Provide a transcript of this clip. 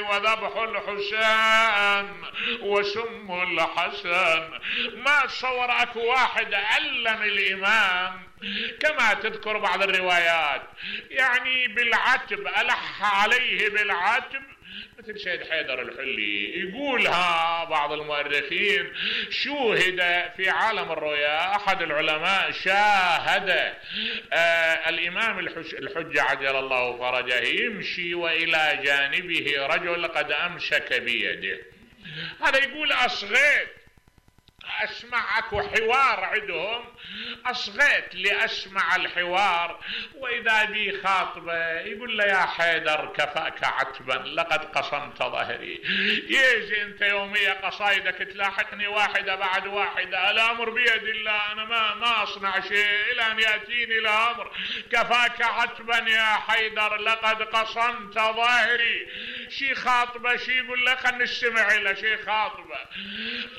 وذبح الحسين وسم الحسن. ما تصور اكو واحد علم الامام كما تذكر بعض الروايات، يعني بالعتب، ألح عليه بالعتب مثل سيد حيدر الحلي. يقولها بعض المؤرخين شوهد في عالم الرؤيا، أحد العلماء شاهد الإمام الحجة عجل الله فرجه يمشي وإلى جانبه رجل قد أمسك بيده. هذا يقول أصغيت أسمع أكو حوار عندهم، أصغيت لأسمع الحوار، وإذا بي خاطبة يقول له يا حيدر كفاك عتبا لقد قصمت ظهري. يجي أنت يومية قصايدك تلاحقني واحدة بعد واحدة، الأمر بيد الله، أنا ما أصنع شيء إلى أن يأتيني الأمر. كفاك عتبا يا حيدر لقد قصمت ظهري. شي خاطبة، شي يقول له خلنا نستمع إلى شي خاطبة.